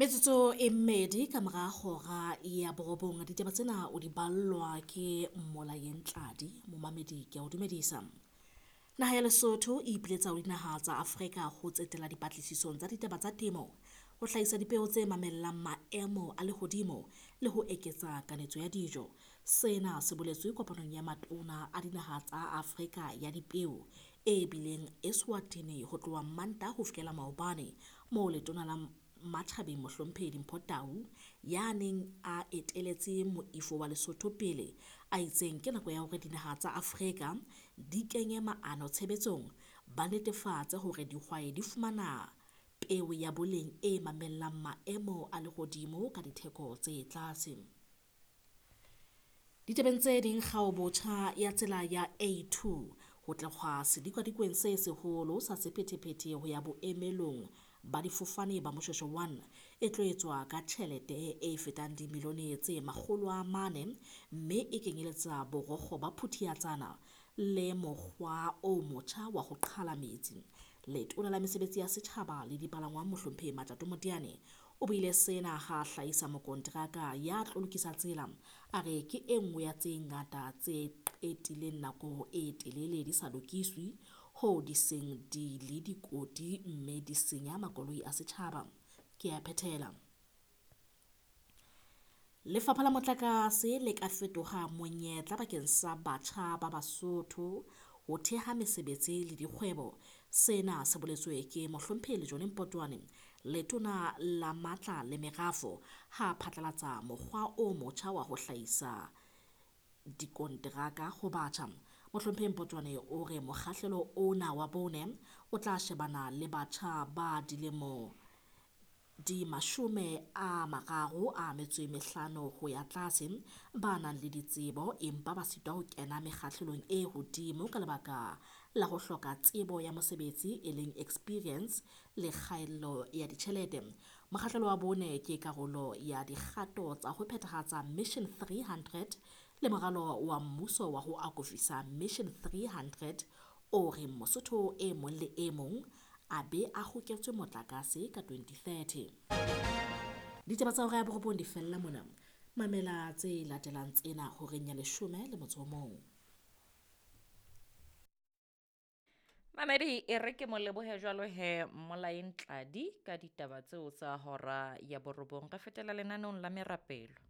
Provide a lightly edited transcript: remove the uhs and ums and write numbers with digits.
Metsotso e mmedi ka mora hora ya borobong, ditaba tsena o di ballwa ke Mmolayeng Tladi. Momamedi, ke a o dumedisa. Naha ya Lesotho e ipiletsa ho dinaha tsa Afrika ho tsetela dipatlisisong tsa ditaba tsa temo, ho hlahisa dipeo tse mamellang maemo a lehodimo le ho eketsa kanetso ya dijo. Sena se boletswe kopanong ya matona a dinaha tsa Afrika ya dipeo e bileng Eswatini ho tloha Mantaha ho fihlela maobane, moo letona la Matjhabeng Mohlomphehi Dimpho Tau ya neng a eteletse moifo wa Lesotho pele a itseng ke nako ya hore dinaha tsa Afrika di kenye maano tshebetsong, ba netefatse hore dihwai di fumana peo ya boleng e mamellang maemo a lehodimo ka ditheko tse tlase. Ditabeng tse ding, kgaobotjha ya tsela ya A2 ho tloha sedikadikweng se seholo sa sephethephethe ho ya boemelong ba difofane ba Moshoeshoe 1 e tlo etswa ka tjhelete e fetang dimilione tse 400 mme e kenyeletsa borokgo ba Phuthiatsana le mokgwa o motjha wa ho qhala metsi. Letona la Mesebetsi ya Setjhaba le Dipalangwang Mohlomphehi Matjato Moteane o buile sena ha a hlahisa mokonteraka ya tlo lokisa tsela. A re ke e nngwe ya tse ngata tse qetileng nako e telele di sa lokiswe hoo di seng di le dikoti mme di senya makoloi a setjhaba. Ke a phethela. Lefapha la motlakase le ka fetoha monyetla bakeng sa batjha ba Basotho ho theha mesebetsi le dikgwebo. Sena se boletswe ke Mohlomphehi Lejone Mpotwane, letona la matla le merafo, ha phatlalatsa mokgwa o motjha wa ho hlahisa dikonteraka ho batjha. Mohlomphehi Mpotwane o re mokgahlelo ona wa bone o tla shebana le batjha ba dilemo di 35 ho ya tlase ba nang le ditsebo empa ba sitwa ho kena mekgahlelong e hodimo ka lebaka la ho hloka tsebo ya mosebetsi e leng experience le kgaello ya ditjhelete. Mokgahlelo wa bone ke karolo ya dikgato tsa ho phethahatsa Mission 300 le moralo wa mmuso wa ho akofisa Mission 300 o reng Mosotho e mong le e mong a be a hoketswe motlakase ka 2030. Ditaba tsa hora ya borobong di fella mona. Mamela tse latelang tsena horeng ya 11. Mamedi e re ke mo lebohe jwalo he Mmolaeng Tladi ka ditaba tseo tsa hora ya borobong. Re fetela lenaneong la merapelo.